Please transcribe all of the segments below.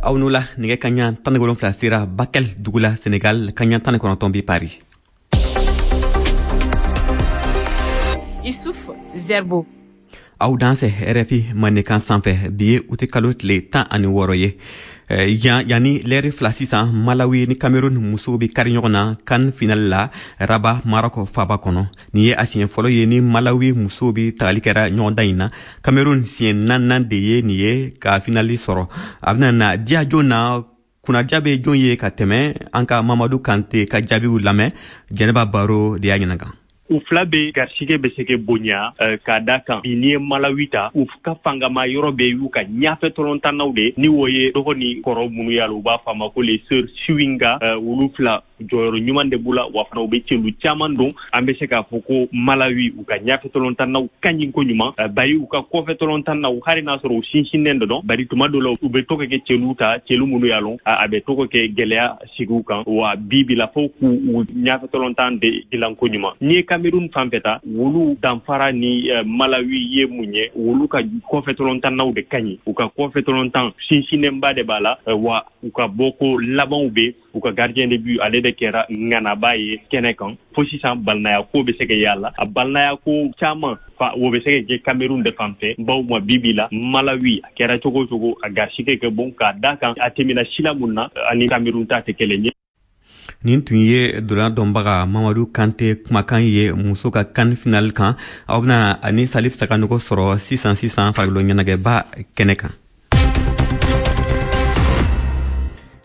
Aw n'o la, nɛgɛ kaɲa 17 sera Bakel dugu la Senegal, kaɲa 19 bi Paris. Issouf Zerbo. Aw dansɛ RFI Mandenkan sanfɛ. Bi ye uti kalo tile 16 ye. Yanni lɛri 2 sisan, Malawi ni Cameroun musow bɛ kari ɲɔgɔn na CAN finale la Rabat, Maroc faba kɔnɔ. Nin ye a siɲɛ fɔlɔ ye ni Malawi musow bɛ tagali kɛra ɲɔgɔndan in na. Cameroun siɲɛ naaninan de ye nin ye ka finali sɔrɔ. A bɛna na diya jɔn na, kunnadiya bɛ jɔn ye ka tɛmɛ? An ka Mamadu Kante ka jaabiw lamɛn. Jɛnɛba Baro de y'a ɲininka. U fila bɛ garisigɛ bɛ se ka bonya k'a da kan bi n'i ye Malawi ta, u ka fangama yɔrɔ bɛ y'u ka ɲafɛ tɔlɔntannaw de ni o ye dɔgɔ ni kɔrɔ minnu y'a la, u b'a fɔ a ma ko les sœurs Chiwinga. Olu fila jɔyɔrɔ ɲuman de b'u la, wa fana u bɛ celu caman don. An bɛ se k'a fɔ ko Malawi u ka ɲafɛ tɔlɔntannaw ka ɲi koɲuman, bari u ka kɔfɛ tɔlɔntannaw, hali n'a sɔrɔ u sinsinnen dɔ dɔn, bari tuma dɔ la u bɛ to ka kɛ celu ta, celu minnu y'a lɔn a bɛ to ka kɛ gɛlɛya sigiw kan, wa bi bi la fo k'u ɲafɛ tɔlɔntan de dilan koɲuman. N'i ye Cameroun fan fɛ ta, wolu danfara ni Malawi ye mun ye? Wolu ka kɔfɛ tɔlɔntannaw de ka ɲi, u ka kɔfɛ tɔlɔntan sinsinnenba de b'a la, wa u ka bɔko labanw bɛ u ka gardien de but, ale de kɛra ŋanaba ye kɛnɛ kan. Fo sisan balinaya ko bɛ se ka y'a la, a balinaya ko caman fa o bɛ se ka kɛ Cameroun de fan fɛ, bawo ma bi bi la Malawi a kɛra cogo o cogo a garisigɛ kɛ bon k'a da kan a tɛmɛna sila mun na ani Cameroun ta tɛ kelen ye. Nin tun ye dolan dɔnbaga Mamadu Kante kumakan ye muso ka CAN final kan. Aw bɛna ani Salif Sakanogo sɔrɔ sisan sisan farikolo ɲɛnajɛba kɛnɛ kan.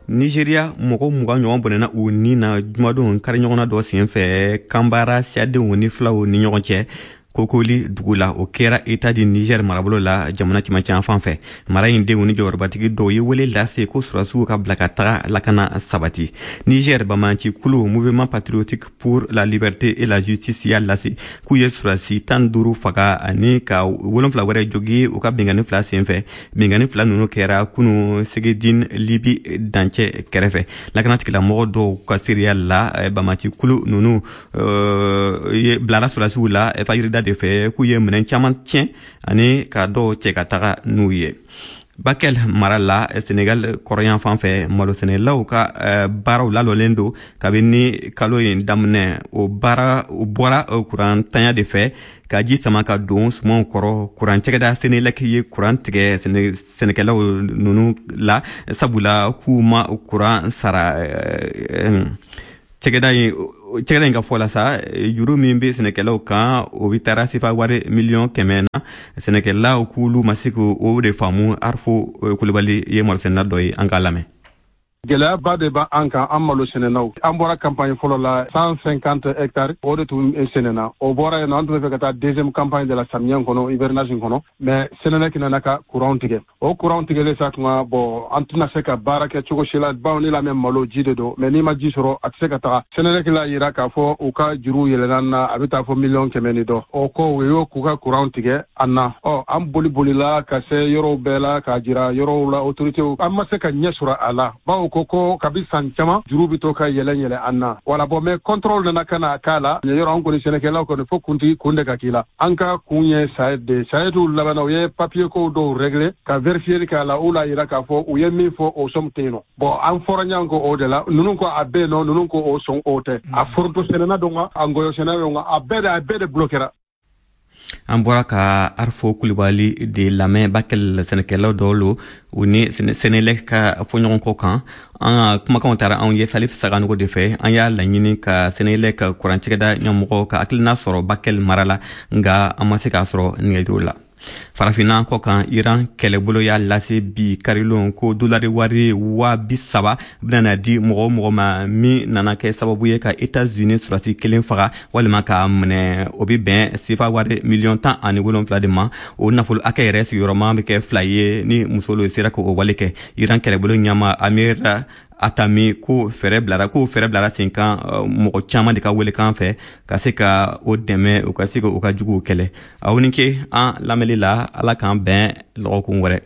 Nigeria, mɔgɔ 20 ɲɔgɔn bɔnɛna u ni na jumadon kari ɲɔgɔnna dɔ senfɛ Kanbara siyadenw ni filaw ni ɲɔgɔn cɛ Kokoli dugu la. O kɛra État du Niger marabolo la, jamana cɛmancɛ fan fɛ. Mara in denw ni jɔyɔrɔbatigi dɔw ye wele lase ko sɔrɔdasiw ka bila ka taga lakana sabati. Niger banbaanci kulu Mouvement patriotique pour la liberté et la justice y'a lase k'u ye sɔrɔdasi 15 faga ani ka 7 wɛrɛ jogi u ka binkanni fila senfɛ. Binkanni fila ninnu kɛra kunu Segedin, Libi dancɛ kɛrɛfɛ. Lakanatigilamɔgɔ dɔw ka seereya la, banbaanci kulu ninnu ye bilala sɔrɔdasiw la fajirida de fɛ k'u ye minɛn caman tiɲɛ ani ka dɔw cɛ ka taga n'u ye. Bakel mara la Senegal kɔrɔyan fan fɛ, malosɛnɛlaw ka baaraw lalɔlen don kabini kalo in daminɛ. O baara o bɔra kuran tanya de fɛ ka ji sama ka don sumanw kɔrɔ. Kuran cɛgɛda Senelec ye kuran tigɛ sɛnɛkɛlaw ninnu la, sabula k'u ma kuran sara. Cɛgɛda in ka fɔ la sa, juru min bɛ sɛnɛkɛlaw kan, o bɛ taara sefa wari 100 000 000 na. Sɛnɛkɛlaw k'olu ma se k'o de faamu. Arfo Kulubali ye malosɛnɛna dɔ ye, an k'a lamɛn. Gɛlɛyaba de b'an kan, an malo sɛnɛnaw. An bɔra campagne fɔlɔ la, 150 hectares o de tun sɛnɛna. O bɔra yen nɔ, an tun bɛ fɛ ka taa deuxième campagne de la samiyɛ kɔnɔ, hivernage kɔnɔ, mais Senelec nana ka courant tigɛ. O courant tigɛlen sa tuma, bon, an tɛna se ka baara kɛ cogo si la, bawo ni lamɛn malo ji de don, mais n'i ma ji sɔrɔ, a tɛ se ka taga. Senelec l'a yira k'a fɔ u ka juru yɛlɛnna na, a bɛ taa fɔ 100 000 ni dɔ. O ko u y'o k'u ka courant tigɛ an na. Ɔ an boli bolila ka se yɔrɔw bɛɛ la k'a jira yɔrɔw la autorités, an ma se ka ɲɛ sɔrɔ a la, bawo ko kabi san caman juru bɛ to ka yɛlɛ yɛlɛ an na. Wala bon, mais contrôle nana ka na k'a la yɔrɔ. An kɔni sɛnɛkɛlaw kɔni, fo kuntigi kun de ka k'i la. An ka kun ye SAED de. SAED labanna, u ye papier ko dɔw régler ka vérifier k'a la. U l'a yira k'a fɔ u ye min fɔ, o somme tɛ yen nɔ. Bon, an fɔra ɲɔgɔn kɔ o de la. Ninnu ko a bɛ yen nɔ, ninnu ko o sɔn o tɛ. A foronto sɛnɛna don wa, a ngɔyɔ sɛnɛna don wa, a bɛɛ de bloquera. An bɔra ka Arfo Kulibali de lamɛn, Bakel sɛnɛkɛlaw dɔw lo, u ni Senelec ka fɔɲɔgɔnkɔ kan. An ka kumakanw taara anw ye Salif Saganogo de fɛ. An y'a laɲini ka Senelec ka kurancɛgɛda ɲɛmɔgɔ ka hakilina sɔrɔ Bakel mara la, nga an ma se k'a sɔrɔ nɛgɛjuru la. Farafinna kɔ kan, Iran kɛlɛbolo y'a lase bi karilon ko dolari wari 30.000 bɛna di mɔgɔ o mɔgɔ ma min nana kɛ sababu ye ka Etats-Unis sɔrɔdasi kelen faga walima k'a minɛ. O bɛ bɛn sefa wari 17 000 000 de ma. O nafolo hakɛ yɛrɛ sigiyɔrɔma bɛ kɛ fila ye ni muso sera k'o wale kɛ. Iran kɛlɛbolo ɲɛma Amir Atami ko fɛɛrɛ bilara sen kan mɔgɔ caman de ka welekan fɛ ka se ka o dɛmɛ, u ka se ka u ka juguw kɛlɛ. Aw ni ke an lamɛnli la. Ala k'an bɛn lɔgɔkun wɛrɛ.